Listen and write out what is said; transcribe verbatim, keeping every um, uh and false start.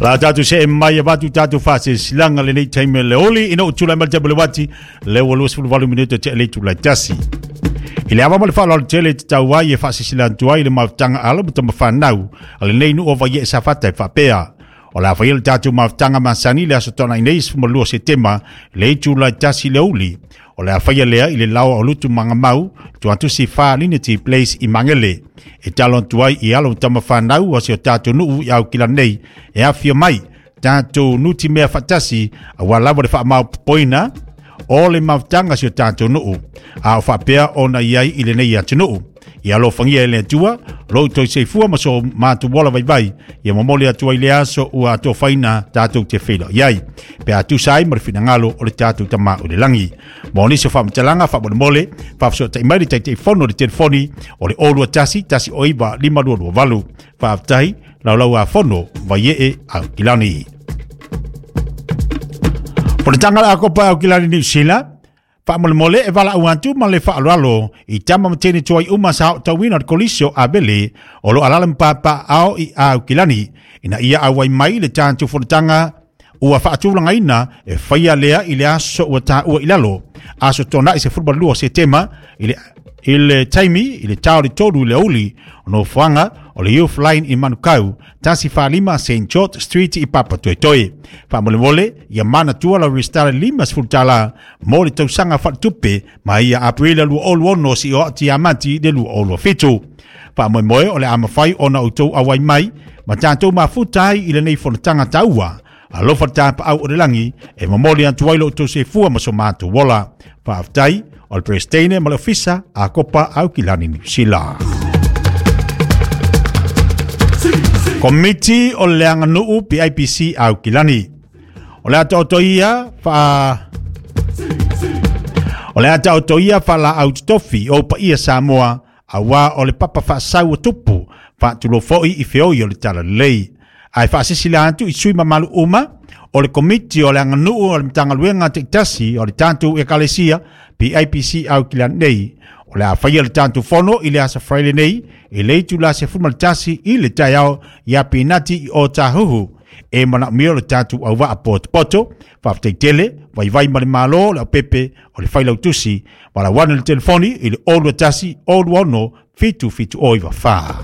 La tātou se e mai a watu tātou whase silanga le nei taime le oli ina o tūlai mal te wati le ua lua sefulu valu minuto te le tūlai tasi. I le awa ma le whaaloalo tele te tau ai e whaase sila antu ai le mafutaga alo ma tama whanau a lenei nuu o Vaie Safata e faapea. O le a faia le tatou mafutaga masani le aso tona'i nei sefulumalua o Setema le itulai tasi le uli. O le a faia lea i le laoa o Lutu Magamau, tuatusi Whalinity Place i Mangele. E talo atu ai i alo ma tama whanau o si o tatou nuu i Aukila nei e afio mai tatou nuti mea faatasi auā lava le faamaopopoina o le mafutaga si o tatou nuu a o faapea ona i ai i lenei atunuu. Ia alofagia e le Atua lo outou soifua ma so matou ola vaivai ia momoli atu ai le aso ua atofaina tatou te feiloai ai pe a tusa ai ma le finagalo o le tatou Tamā o le lagi. Mo nisi o faamatalaga faamolemole faafesootai mai le Taitaifono le telefoni o le o lua tasi tasi o iva lima lua lua valu. Faafetai laulau a fono Vaiee Aukilani. Fonotaga le Akopa Aukilani Niu Sila faamolemole e valaau atu ma le faaaloalo i tama ma teine tuai uma sa aotauina o le kolisi o Avele o lo alala ma papaaao i Aukilani ina ia auai mai le tatou fonotaga ua faatulagaina e faia lea i le aso ua taua i lalo aso tona'i sefulumalua o Setema i le i le taimi i le tao le tolu i le uli o nofoaga o le Youth Line i Manukau tasi falima Saint George Street i Papatoetoe. Faamolemole ia manatua lau resitala lima sefulu tala mo le tausaga faaletupe mai ia Aperila lua olu ono si o ati Iamati le lua olu fitu. Faamoemoe o le a mafai ona outou auai mai ma tatou mafuta ai i lenei fonotaga taua. Alofa le tapaau o le lagi e momoli atu ai lo outou soifua ma so matou ola. Faafetai o le Peresetene ma le Ofisa Akopa Aukilani Niu Sila. Komiti o le Aganuu P I P C Aukilani. O le ata ia fa o le ata ia fa la autotofi o paia Samoa aua o le papa faasau o tupu faatulofoi i feoi o le talalelei. Ae faasilasila atu i sui mamalu uma o le komiti o le aganuu o le Matagaluega taitasi o le tatou Ekalesia P I P C Aukilani nei. O le a faia le tatou fono i le aso Friday nei i le itula sefulu ma le tasi i le taeao ia Pinati i Otahuhu. E manaomia le tatou auvaa potopoto faafetai tele vaivai ma le malo le aupepe o le failautusi ma lauana le telefoni i le olu tasi olu ono fitu fitu o iwa fa.